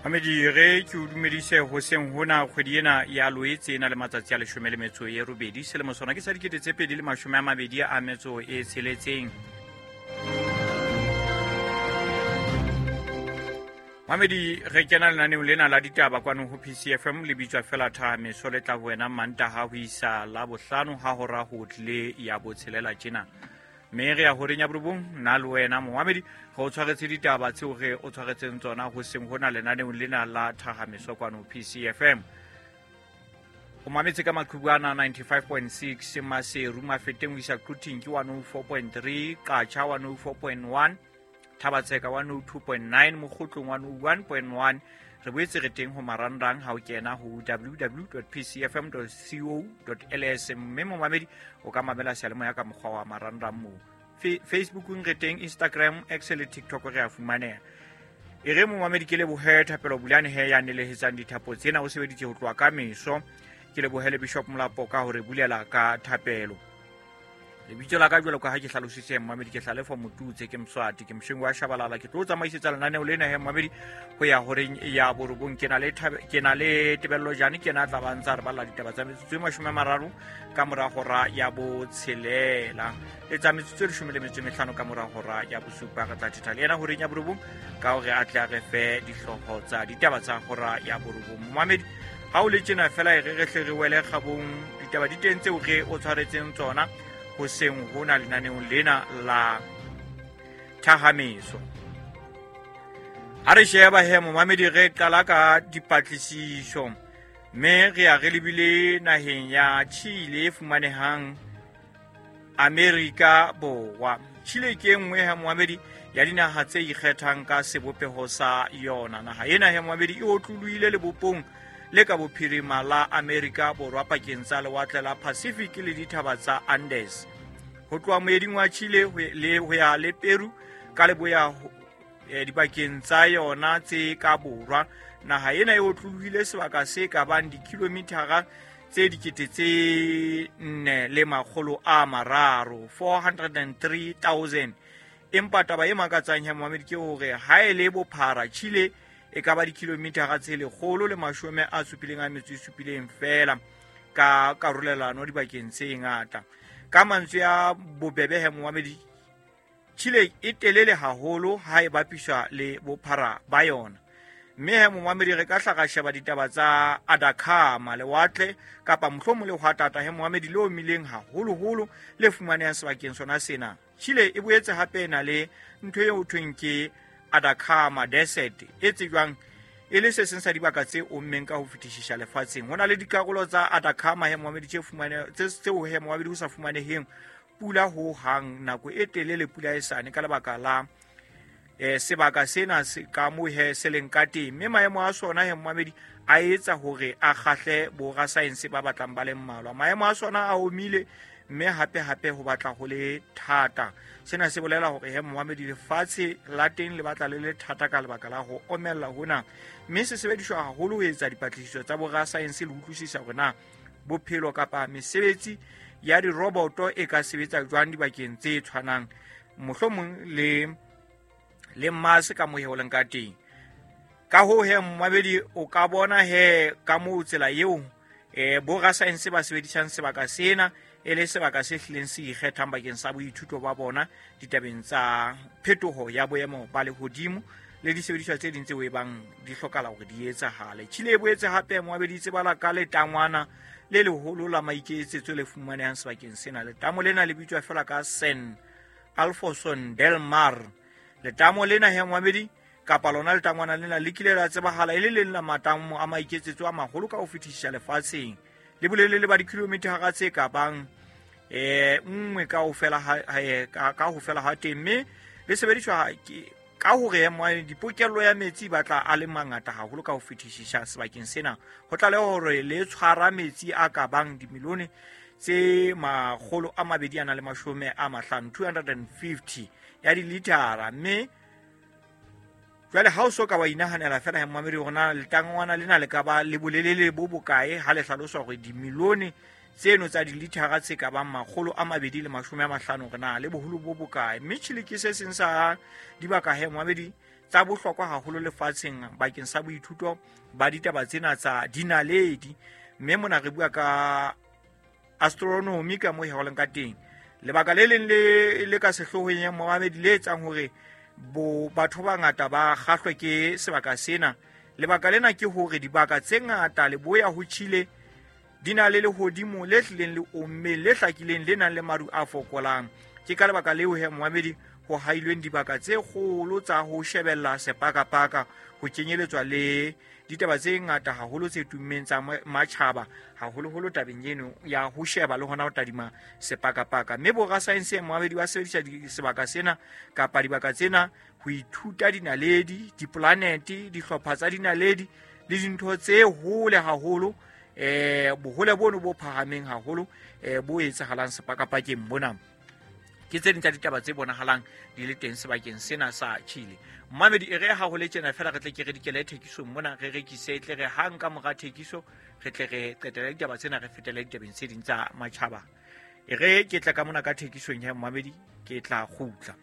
Mamedi, re ke o dumedise hoseng hona. Kgwedi ena ya Loetse e na le matsatsi a 18, selemo sona ke sa 2026. Mamedi, re kena lenaneong lena la ditaba kwano ho PCFM, le bitswa fela Thahameso, le tla ho wena Mantaha ho isa la bohlano ha hora ho tlile ya botshelela tjena. Mme re ya horeng ya borobong, nna le wena momamedi re o tshwaretse ditaba tseo re o tshwaretseng tsona hoseng hona lenaneong lena la Thahameso kwano PCFM. O mametse ka maqhubu ana 95.6 Maseru, Mafeteng ho isa Quthing ke 104.3, Qacha 104.1, Thabatsheka 102.9, Mokgotlong 101.1. Re boetse re teng ho marangrang ha o kena ho www.pcfm.co.ls, mme momamedi o ka mamela seyalemoya ka mokgwa wa marangrang moo. Facebookong re teng, Instagram, X le TikTok re a fumaneha. E re momamedi ke lebohe Thapelo Bulane he ya nelehetsang dithapo tsena, o sebeditse ho tloha ka meso. Ke lebohe le Bishop Molapo ka hore bulela ka thapelo. Lebitso la ka jwalo ka ha ke hlalositse mmamedi ke Hlalefo Motutse, ke Mswati, ke Moshengi wa Shabalala. Ke tlo tsamaisetsa lenaneo lena he mmamedi ho ya horeng ya borobong. Ke na le ke na le Tebello Jane, ke na tla ba ntsa re balla ditaba tsa metsotso e 30 ka mora hora ya botshelela, le tsa metsotso e 15 ka mora hora ya bosupa. Re tla thetha le yena horeng ya borobong ka hore a tle a re fe dihlooho tsa ditaba tsa hora ya borobong. Momamedi, ha o le tjena fela e re re hle re wele kgabong, ditaba di teng tseo re o tshwaretseng tsona hoseng hona lenaneong lena la Thahameso. Ha re sheba he momamedi, re qala ka dipatlisiso, mme re ya re lebile naheng ya Chile e fumanehang Amerika Borwa. Chile ke e nngwe he momamedi ya dinaha tse ikgethang ka sebopeho sa yona. Naha ena he momamedi e otlolohile lebopong le ka bophirima la Amerika Borwa, pakeng tsa lewatle la Pacific le dithaba tsa Andes. Ho tloha moeding wa Chile le ho ya le Peru ka leboya, dibakeng tsa yona tse ka borwa, naha ena e otlolohile sebaka se ka bang dikilomithara tse 4 300, 403,000. Empa taba e makatsang ya momamedi ke hore ha e le bophara, Chile e ka ba dikilomithara tse 177 feela ka karolelano dibakeng tse ngata. Ka mantswe a bobebe he momamedi, Chile e telele haholo ha e bapiswa le bophara ba yona. Mme he momamedi re ka hla ra sheba ditaba tsa Atacama, lewatle kapa mohlomong lehwatata he momamedi le omileng haholoholo le fumanehang sebakeng sona sena. Chile e boetse hape e na le ntho eo ho thweng ke Atacama Desert, e tsejwang e le se seng sa dibaka tse ommeng ka ho fetisisa lefatsheng. Ho na le dikarolo tsa Atacama he momamedi tse fumane tseo he momamedi ho sa fumaneheng pula ho hang nako e telele, pula e sane ka lebaka la sebaka sena se ka mo he se leng ka teng. Mme maemo a sona he momamedi a etsa hore a kgahle borasaense ba batlang ba le mmalwa. Maemo a sona a omile, mme hape hape ho batla ho le thata. Sena se bolela hore he momamedi lefatshe la teng le batla le le thata ka lebaka la ho omella hona, mme se sebediswa haholo ho etsa dipatlisiso tsa borasaense le utlwisisa hore na bophelo kapa mesebetsi ya diroboto e ka sebetsa jwang dibakeng tse tshwanang mohlomong le Mars ka moo ho leng ka teng. Ka hoo he momamedi o ka bona he ka moo tsela eo borasaense ba sebedisang sebaka sena e le sebaka se hlileng se ikgethang bakeng sa boithuto ba bona ditabeng tsa phetoho ya boemo ba lehodimo le disebediswa tse ding tseo e bang di hlokala hore di etsahale. Chile e boetse hape momamedi tsebala ka letangwana le leholo la maiketsetso le fumanehang sebakeng sena. Letamo lena le bitswa fela ka San Alfonso del Mar. Letamo lena he momamedi kapa lona letangwana lena le kile la tsebahala e le leng la matamo a maiketsetso a maholo ka ho fetisisa lefatsheng, le bolelele ba dikilomithara tse ka bang nngwe ka ho fela ha teng, mme le sebediswa ka hore dipokello ya metsi batla a le mangata haholo ka ho fetisisa sebakeng sena. Ho tlaleha hore le tshwara metsi a ka bang dimilione tse 250, 250 ya dilitara. Mme jwale ha o so ka wa inahanela fela he momamedi hore na letangwana lena le ka ba le bolelele bo bokae ha le hlaloswa hore dimilione tseno tsa dilitara tse ka bang 250 hore na le boholo bo bokae. Mme Chile ke se seng sa dibaka he momamedi tsa bohlokwa haholo lefatsheng bakeng sa boithuto ba ditaba tsena tsa dinaledi. Mme mona re bua ka astronomy ka mo heoleng ka teng. Lebaka le leng le ka sehloohong ya momamedi le etsang hore bo batho ba bangata ba kgahlwe ke sebaka sena, lebaka lena ke hore dibaka tse ngata leboya ho Chile di na le lehodimo le hlileng le ommeng, le hlakileng, le nang le maru a fokolang. Ke ka lebaka leo he momamedi ho hailweng dibaka tse kgolo tsa ho shebella sepakapaka, ho kenyeletswa le ditaba tse ngata haholo tse tummeng tsa matjhaba, haholoholo tabeng eno ya ho sheba le hona ho tadima sepakapaka. Mme borasaense momamedi ba sebedisa sebaka sena kapa dibaka tsena ho ithuta dinaledi, dipolanete, dihlopha tsa dinaledi le dintho tse hole haholo, bohole bono bo phahameng haholo, bo etsahalang sepakapakeng mona. Ke tse ding tsa ditaba tse bonahalang di le teng sebakeng sena sa Chile. Mmamedi, e re ha ho le tjena fela re tle ke re dikele thekisong mona, re rekise, tle re hang ka mora thekiso re tle re qetele ditaba tsena, re fetele ditabeng tse ding tsa matjhaba. E re ke tla ka mona ka thekisong ya mmamedi, ke tla kgutla.